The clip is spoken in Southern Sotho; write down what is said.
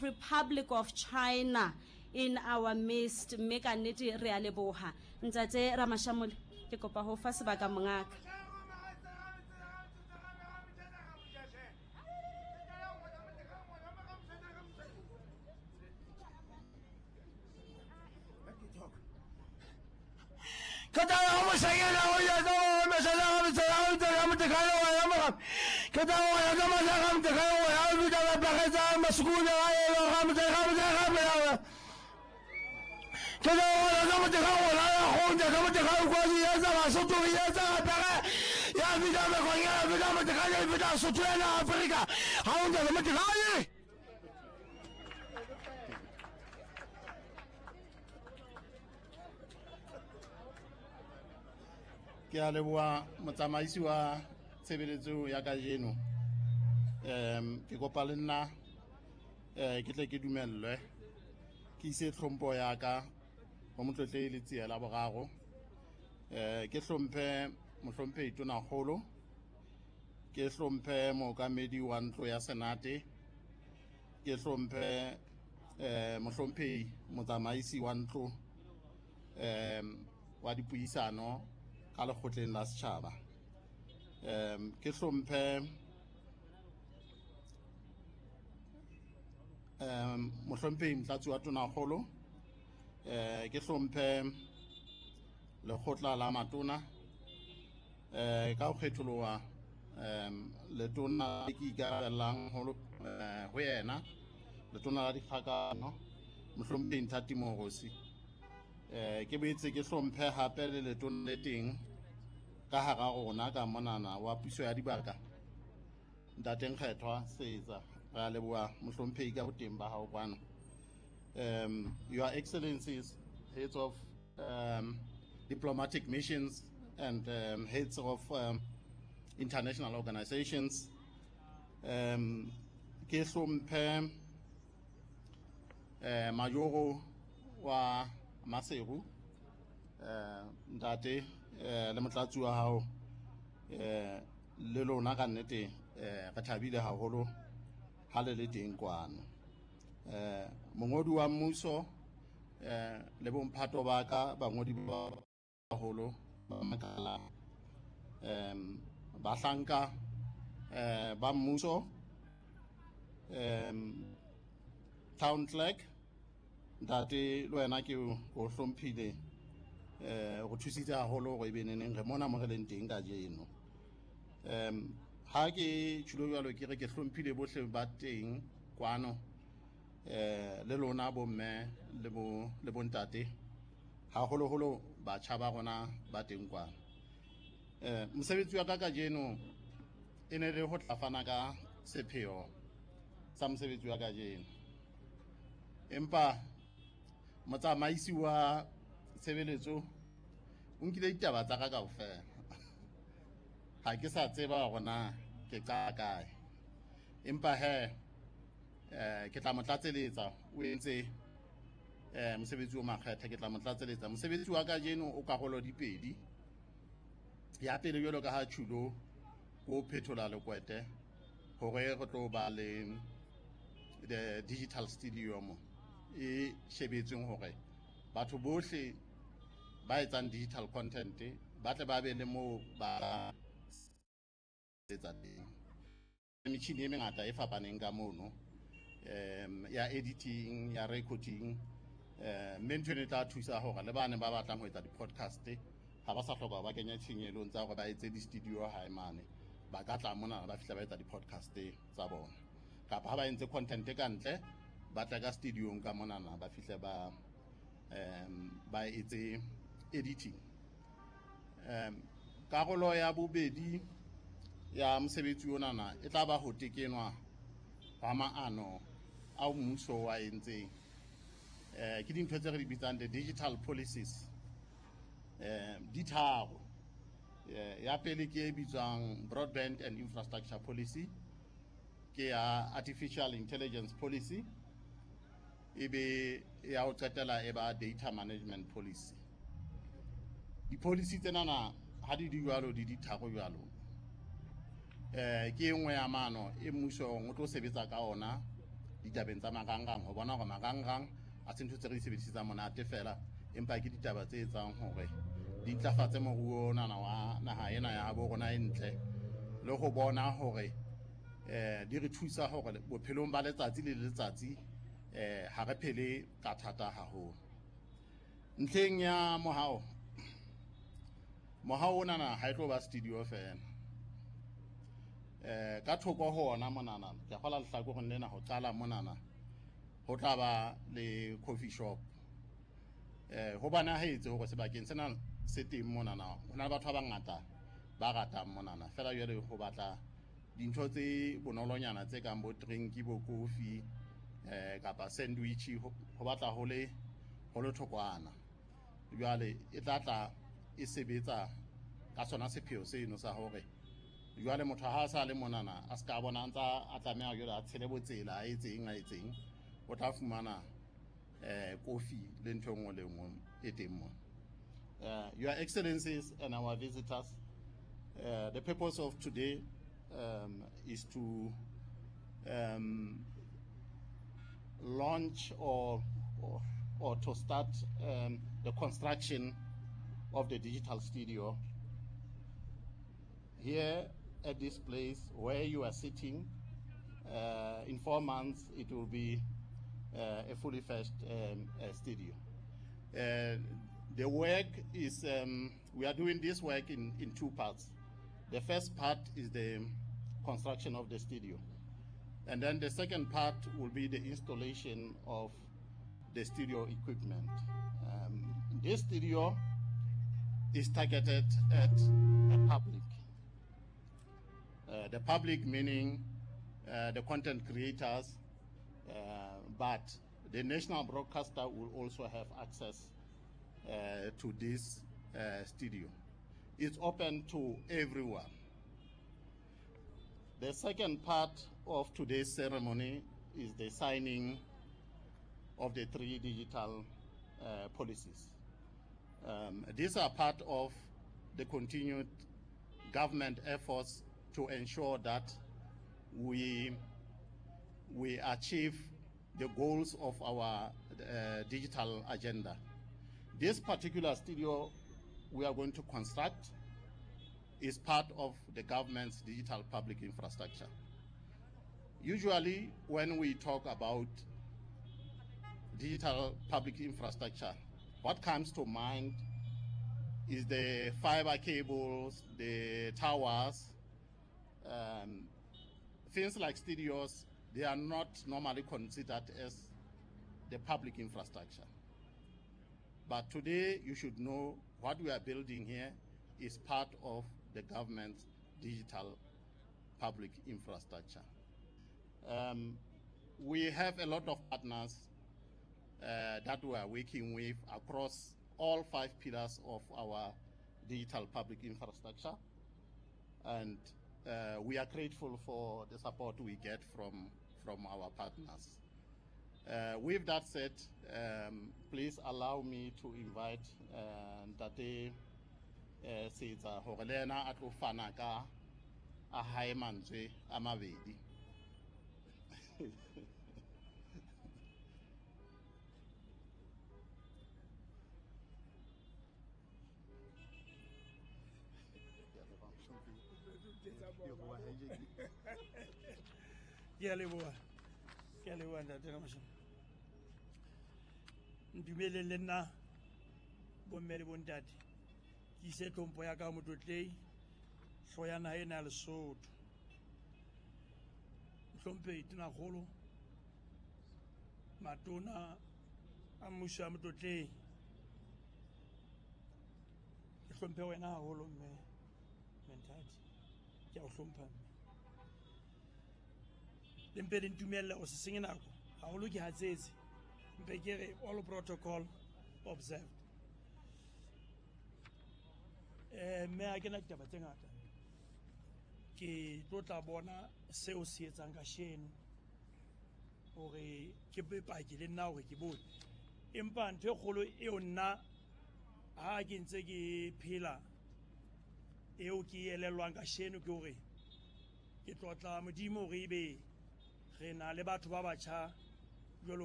Republic of China in our midst mme ka nnete re a leboha ntate Ramashamole ke kopa ho fa sebaka mongaka. Ke a leboha motsamaisi wa tshebeletso ya kajeno. Ke kopa le nna ke tle ke dumellwe ke ise tlhompho ya ka ho Motlotlehi Letsie la boraro. Ke hlomphe mohlomphehi Tonakgolo, ke hlomphe mookamedi wa ntlo ya Senate, ke hlomphe mohlomphehi motsamaisi wa ntlo wa dipuisano ka lekgotleng la setjhaba. Ke hlomphe mohlomphehi motlatsi wa Tonakgolo, ke hlomphe lekgotla la matona, ka ho kgetholoha letona le ke ikarabellang ho yena, letona la dikgakano mohlomphehi Nthati Moorosi. Ke boetse ke hlomphe hape le letona le teng ka hara rona ka monana wa puso ya dibaka, Ntate Nkgethwa Seetsa. Re a leboha mohlomphehi ka boteng ba hao kwano. Your Excellencies, heads of diplomatic missions and heads of international organizations, ke hlomphe majoro wa Maseru, ntate le motlatsi wa hao, le lona ka nnete re thabile haholo ha le le teng kwano. Mongodi wa mmuso le bomphato ba ka, bangodi ba baholo ba makala, bahlanka ba mmuso, town clerk ntate le wena ke o hlomphile, go thusitse haholo hore ebe neneng re mona mo re leng teng kajeno. Ha ke tjhulo jwalo ke re ke hlomphile bohle ba teng kwano, le lona bomme le bo le bontate, haholoholo batjha ba rona ba teng kwano. Mosebetsi wa ka kajeno e ne le ho tla fana ka sepheo sa mosebetsi wa kajeno, empa motsamaisi wa tshebeletso o nkile ditaba tsa ka kaofela. Ha ke sa tseba hore na ke qala kae, empa he ke tla mo tlatseletsa. O entse mosebetsi o makgethe, ke tla mo tlatseletsa. Mosebetsi wa kajeno o karolo di pedi. Ya pele, jwalo ka ha tjhulo o phethola lekwete hore re tlo ba le the digital studio e shebetsweng hore batho bohle ba etsang digital content ba tle ba be le moo ba etsa teng. Metjhini e mengata e fapaneng ka mono, ya editing, ya recording, mme ntho eno e tla thusa hore le bane ba batlang ho etsa di-podcast ha ba sa hloka ba kenya tshenyelong tsa hore ba etse di-studio hae mane, ba ka tla mona ba fihla ba etsa di-podcast tsa bona, kapa ha ba entse content ka ntle ba tla ka studiong ka monana ba fihle ba ba etse editing. Karolo ya bobedi ya mosebetsi onana e tla ba ho tekenwa hwa maano ao mmuso wa entseng. Ke dintho tse re di bitsang the digital policies. Di tharo. Ya pele ke e bitswang broadband and infrastructure policy, ke ya artificial intelligence policy, ebe ya ho qetela e ba data management policy. Di-policy tsenana ha di di jwalo, di di tharo jwalo, ke e nngwe ya maano e mmusong o tlo sebetsa ka ona ditabeng tsa marangrang, ho bona hore marangrang a se ntho tse re di sebedisetsang monate fela, empa ke ditaba tse etsang hore di ntlafatse moruo onana wa naha ena ya bo rona e ntle, le ho bona hore di re thusa hore bophelong ba letsatsi le letsatsi ha re phele ka thata haholo. Ntlheng ya mohao, mohao onana ha e tlo ba studio fela. Ka thoko ho ona monana, ke a kgola lehlakoreng lena ho qala monana, ho tla ba le coffee shop. Ho bonahetse hore sebakeng sena se teng monana, ho na le batho ba bangata ba ratang monana. Feela jwale ho batla dintho tse bonolonyana tse kang bo drink, bo kofi, kapa sandwich, ho batla ho le thokwana. Jwale e tla tla e sebetsa ka sona sepheo seno sa hore jwale motho ha a sa le monana a ska bona ntsa a tlameha jwale a tshele botsela a etseng, o tla fumana kofi le ntho e nngwe le nngwe e teng mona. Your Excellencies and our visitors, the purpose of today is to launch or to start the construction of the digital studio here at this place where you are sitting. In 4 months it will be a fully fledged studio. The work is, we are doing this work in two parts. The first part is the construction of the studio, and then the second part will be the installation of the studio equipment. This studio is targeted at the public. The public meaning the content creators, but the national broadcaster will also have access to this studio. It's open to everyone. The second part of today's ceremony is the signing of the 3 digital policies. These are part of the continued government efforts to ensure that we achieve the goals of our digital agenda. This particular studio we are going to construct is part of the government's digital public infrastructure. Usually when we talk about digital public infrastructure, what comes to mind is the fiber cables, the towers, things like studios. They are not normally considered as the public infrastructure. But today you should know what we are building here is part of the government's digital public infrastructure. We have a lot of partners that we are working with across all 5 pillars of our digital public infrastructure. And we are grateful for the support we get from our partners. With that said, please allow me to invite Ntate Setsa hore le yena a tlo fana ka a hae mantswe a mabedi. Ke a leboha, ke a leboha ntate Ramasham. Ntumeleng le nna bomme le bontate, ke ise tlhompho ya ka motlotlei hlooho ya naha ena ya Lesotho, mohlomphehi Tonakgolo, matona a mmuso ya motlotlei. Ke hlomphe wena haholo mme Menthati, ke a o hlompha mme. Le mpe le ntumelle ho se senye nako haholo, ke hatsetse mpe ke re all protocol observed. Mme ha ke na ditaba tse ngata, ke tlo tla bona seo se etsang kasheno hore ke bopaki le nna hore ke bone. Empa ntho e kgolo eo nna ha ke ntse ke phela eo ke elellwang kasheno ke hore ke tlotla Modimo hore ebe Re na le batho ba batjha jwalo.